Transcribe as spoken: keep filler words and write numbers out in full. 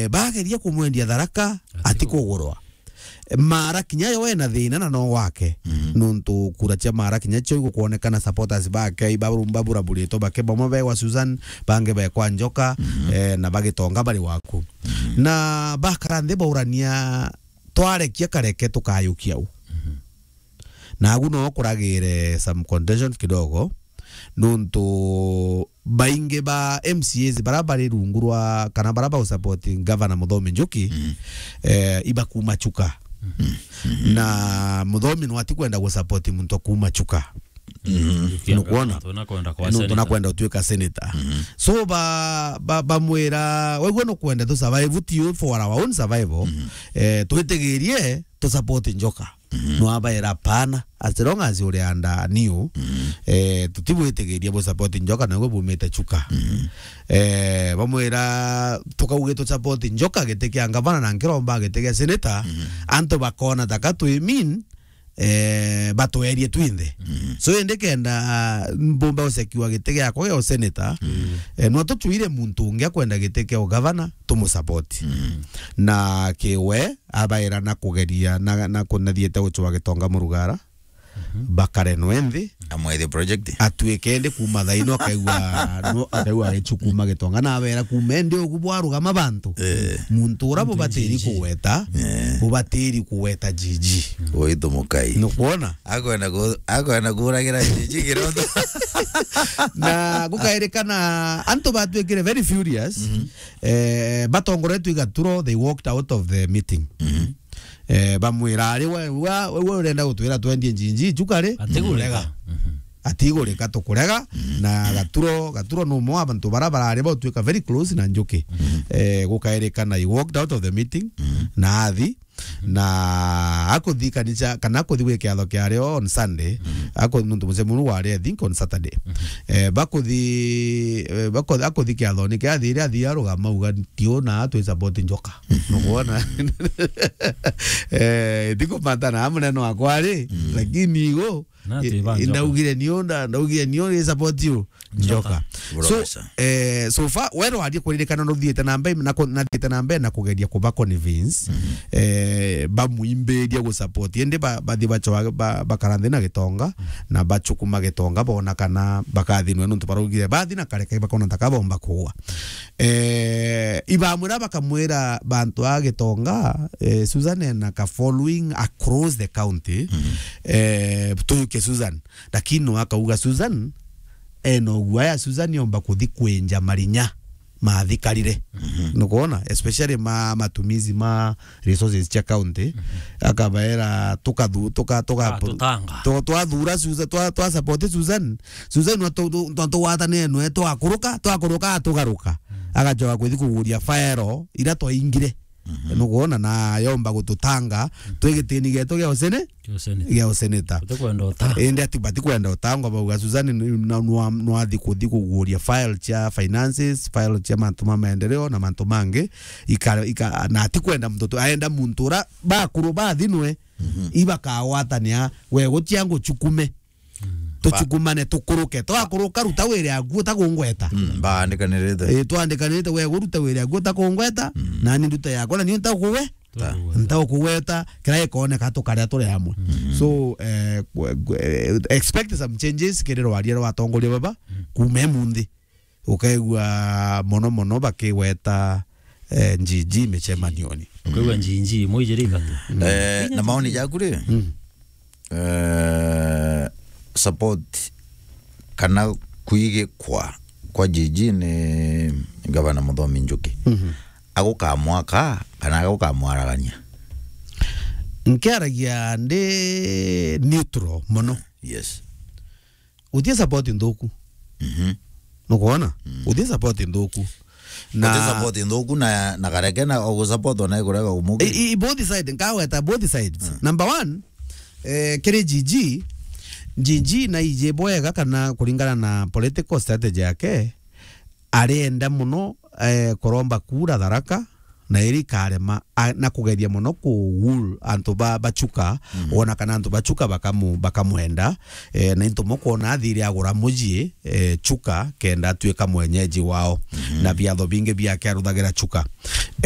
bageria kumwendia Tharaka, atikugurwa. Mara kinya yo ena thina na no wake. Mhm. Nontu kura cia Mara kinya cio igukwonekana supporters bake, iba-, baburaburitwe bake, bamwe begwa Susan, bangi bekwa Njoka, mhm, eh, na bagitonga bari waku. Mhm. Na bakara nthi baurania, twarekia kareke tukayukia u. Mhm. Nagu no kuragire some contention kidogo, nontu baingi ba M C As bara bari rungu rwa, kana bara ba support Governor Muthomi Njuki, mm, eh, iba kuma Chuka. Mm. Na Muthomi no atikwenda gu support muntu kuma Chuka. Mm. Nukwona? Tuna kwenda kwa, eh, nontu senator. Nakwenda utuika senator. Mm. So ba, ba, bamwira, "Wegua nukwenda tu survive, ti for our own survival. Mm. Eh, twitigirie tu support Njoka." Mhm. Nwabaira pana, as long as uri under new, mhm, eh, tutibwitigiria bu support Njoka, na gwe bumite Chuka. Mhm. Eh, bamwira, tukauge tu support Njoka giti kia ngavana na nkiromba giti kia senator, mhm, antu bakona taka twi mean, eh, batwerie twinthe. Mhm. So, indi kenda, ah, mbumba usekiwa giti giakwa gia usenator, mhm, eh, no tuchuire muntu ungi akwenda giti kia ugavana, tumusupport. Mhm. Na kiwe, abaira na kugeria na, na kunathiete gucwa Gitonga Murugara, mhm, bakare nwe nthi. Amwethie project. Atuike ndi kuma thaino akaigua, no, akaigua gichu kuma Gitonga. Na abera kuma ndi ugu bwarugama bantu. Eh. Muntu ura bubatiri kugweta, eh, bubatiri kugweta G G. Uitu mukai. Nukwona? Akwenda ku-, akwenda kuragira G G kiroto. Na gukairikana antu batwikire very furious. Mhm. Eh, batongoretwe i Gaturo, they walked out of the meeting. Mhm. Eh, bamwira, "Ari we, we, we urenda gutwira twendie G G Chuka ri?" Atigurika. Tukurega. Mhm. Atigurika, tukurega. Mhm. Na Gaturo, Gaturo ni umwe wa bantu bara barari bautuika very close na Njuki. Mhm. Eh, gukairikana, he walked out of the meeting, mhm, na athi, na akuthi kanisa, kana akuthi gwi kiatho kiario on Sunday, mhm, aku-, nontu mucemanio wari, I think, on Saturday. Mhm. Eh, bakuthi, eh, bakuthi, akuthi kiathoni kia athire, athi arugama, auga, "Tiuna, twi support Njoka." Mhm. Nukwona? Eh, ndikumatana munene wakwa ri, mhm, lakini igo, na i-, twi ba Njoka. Ndaugire niu, nda-, ndaugire niu, i support you. Njoka. Njoka. So, eh, so far, we rwarie kuririkana nuthiite na mbere, na ku-, nathiite na mbere na kugeria kuba convince, mhm, eh, bamwimbiria gu support. Indi ba-, bathi bachoa, ba-, bakara nthi na Gitonga, mhm, na bachukuma Gitonga, bona kana bakathinwe nontu baraugire bathi na kareke bakona taka bomba kuua. Eh, ibamwira bakamwira bantu a Gitonga, eh, Susan ena ka following across the county, mhm, eh, tuyuke Susan. Lakini no akauga Susan, ena uguaya Susan yomba kuthi kwinja marinya mathikarire. Mhm. Nukwona? Especially ma matumizi ma resources cia county. Mhm. Akabaera tukathu-, tuka-, tuka-, ah, tutanga. Tu-, twathura Susan, twa, twa support Susan. Susan nwa tu-, tu-, twa tugwatanire nwe twakuruka, twakuruka atugaruka. Mhm. Agachoka kuthi kuguria faero ira twaingire. Mhm. Nukwona, na yomba gututanga twi gitini gietu gia usene-, gia useneta. Utikwenda uta. Indi ati batikwenda utangwa, bauga Susan ni-, na-, nwa-, nwathi kuthi kuguria file cia finances, file cia mantu ma maendeleo na mantu mangi, ika-, ika-, na atikwenda muntu tu, aenda muntu ura bakuru bathinwe, mhm, ibakagwatania, we gutia nguchukume. Mm. Tuchukumane, tukuruke. Twakuruka, ruta wire yaku utakungweta. Mm, baandikanirite. Eh, twandikanirite, we guruta wire yaku utakungweta, mm, nani nduta yakwa, na niu ntakuwe-, ntaukugweta. Ntaukugweta, kira ikoneka tukaria turi amwe. Mm. So, eh, kwe-, kwe-, expect some changes kiri rwaria rwa atongoria baba, mm, kuma imunthi. Ukaigua mono mono bakigweta, eh, njinji micemanioni. Ukaigua njinji, imwe ijiri ithatu. Mm. Eh, na maoni jaku ri? Mm. Eh, support kana kwigikwa kwa G G ni Gavana Muthomi Njuki. Mhm. Agukamwaka kana agukamwaragania? Nkiaragia ndi neutral mono. Yes. Utie support nthuku. Mhm. Nukwona? Mm. Utie support nthuku. Na utie support nthuku na, na kareke na ugu support ona ikurega umugi. I, i, both side, nkaweta both sides. Mm. Number one, eh, kiri G G, G G na ije bwega kana kuringana na political strategy yake, arenda muno, eh, kuromba kura Tharaka, na iri ikarema, a, na kugeria muno ku wool antu ba, ba Chuka, mm, wona kana antu ba Chuka bakamu-, bakamwenda, eh, na into mukwona athire agura muji, eh, Chuka, kenda atuika mwenyeji wao, mm, na biatho bingi biake aruthagira Chuka.